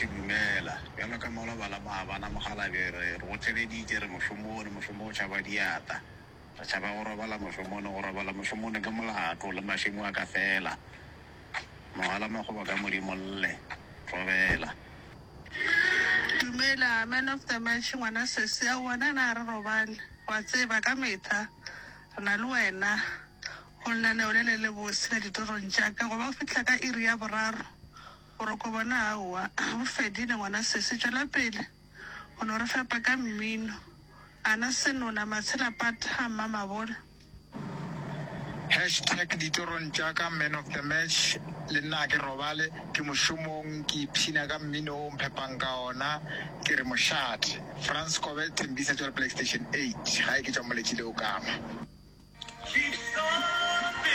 dumela. Bjalo ka maloba la maabana mokgalabje re re go theleditše re mošomong, mošomo o tšhaba diata. Re tšhaba go robala mošomong, go robala mošomong ke molato le mašemo a ka fela. Mogala makgoba ka Modimo lle, robela. Dumela man of the match ngwana sesi aowa na na re robale wa tseba ka metha re na le wena go lenaneo le le le bose la ditorong tša ka goba go fihla ka iri ya boraro boroko bona aowa bo fedile ngwana sesi tšwela pele go no re fepa ka mmino ana senona matshela pata mmamabolo. Hashtag ditorong tša ka man of the match le nna ga ke robale ke mošomong ke ipshina ka mmino o mphepang ka ona ke re mošate Frans Kobe Thembisa tšwa Playstation 8 gae ke tšwa Moletšile o kama.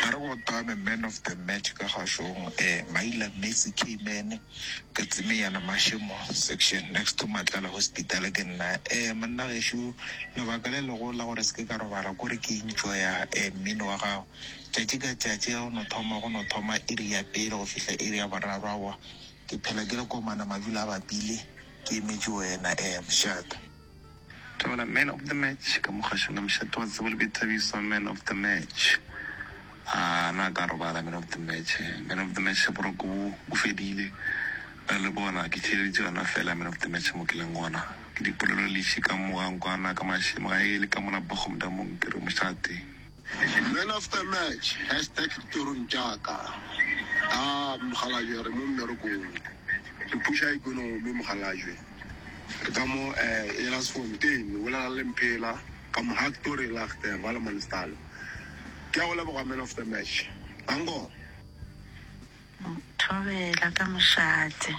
A re go tame man of the match ka gašong eh Maila Messi K-man ka Tsemeyana Mashemo section next to Matlala hospital ke nna eh monna gešo lebaka le legolo la gore se ke ka robala kore ke enjoya eh mmino wa gago tšatši ka tšatši ga go no thoma go no thoma iri ya pele go fihla iri ya boraro aowa ke phela ke le komana madula a bapile ke emetše wena eh mošate. Thobela man of the match ka mogašong ka mošate wa tsebo le boithabiso man of the match a na ka robala man of the match man of the match boroko bo bo fedile na le bona ke theeleditše yona fela man of the match mo ke leng gona ke dipolelo leši ka mo ga nkwana ka mašemo ga e le ka mola Bochum-damong ke re mošate. Man of the match, hashtag ditorong tša ka. Ah, mokgalabje re mo mmerekong. Re pusha economy mokgalabje. Re ka mo eh Elandsfontein, o bolela le Mphela ka mo Hactory Lagter, Wallemansdal. Ke a go leboga man of the match. Danko. Thobela ka mošate.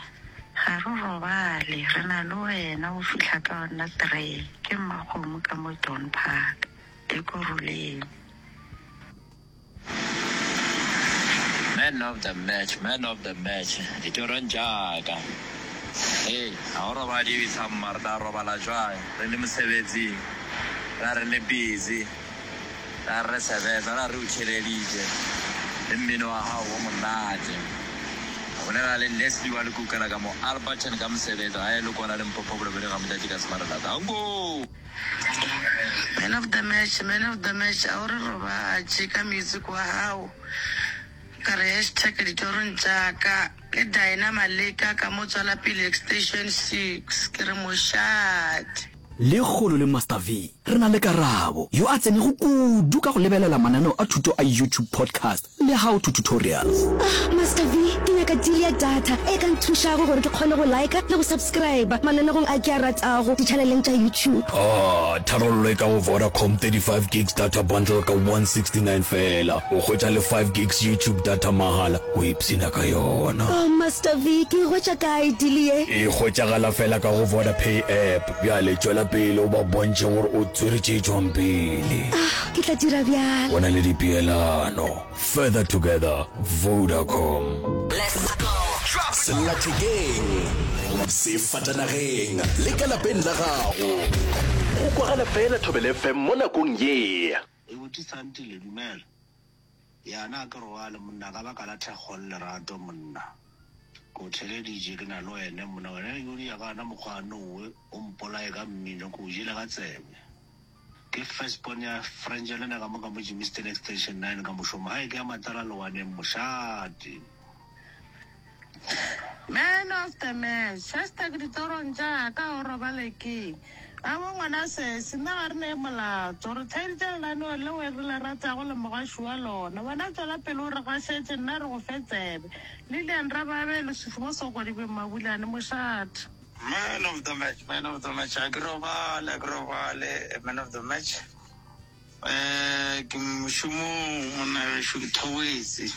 Ga re robale, re na le wena go fihla ka yona tree. Ke Mmakgomo ka mo Dawn Park. Ekurhuleni. Man of the match, man of the match, ditorong tša ka. Hei, ga go robadiwe samma, re tla robala jwang re le mosebetsing, ra re le busy, ra re re sebetsa, ra re o theeleditše le mmino wa gago o monate. O bolela le Leslie wa Lekukela ka mo Alberton ka mosebetsi, gae le kwana Limpopo Bolobedi ga Motšatši ka Semarela. Danko! Man of the match, man of the match, a o re robatše ka music wa gago. Ka re hashtag ditorong tša ka. Ke Dinah Maleka ka mo Tswalapele Extension 6. Ke re mošate. Lekgolo le Master V re na le Karabo, yo a tsenego kudu ka go lebelela mananeo a thuto a YouTube Podcast le How to Tutorials. Ah, Master V, ke nyaka deal ya data e ka nthušago gore ke kgone go liker le go subscriber mananegong a ke a ratago ditšhaneleng tša YouTube. Ah, tharollo e ka go Vodacom 35 gigs data bundle ka 169 feela. O hwetša le 5 gigs YouTube data mahala, o ipshina ka yona. Oh, Master V, ke e hwetša kae deal ye? E hwetšagala feela ka go Vodapay app. Bjale tšwela pele o ba bontšhe gore o tswere tše tšwang pele. Ah, ke tla dira bjalo. Go na le dipeelano. Further together, Vodacom. Sellathekeng, sefatanageng le ka lapeng la gago. Go kwagala fela Thobela FM mo nakong ye. E buti Santile, dumela. Ya na ke robale monna ka baka la thekgo le lerato monna. Ke o theleditše ke na le wene monna wena yo di ya ka ona mokgwa nowe o mpolaye ka mmino ke o jele ka tsebe. Ke first born ya Frangelina ka mo ka mo Germiston Extension 9 ka mošomo gae ke ya Matlala Lowaneng mošate. Man of the match, hashtag ditorong tša ka o robale ke abo ngwana sesi nna ga re ne molato re theeditše lenaneo leo re le ratago le mogaši wa lona wena tšwela pele o re gašetše nna re go fe tsebe Lilian Rababe Lesufi mo Sokodibeng Mabulane mošate. Man of the match, man of the match, ga ke robale, ga ke robale, man of the match. Eh, ke mošomong monna gešo ke thobetse.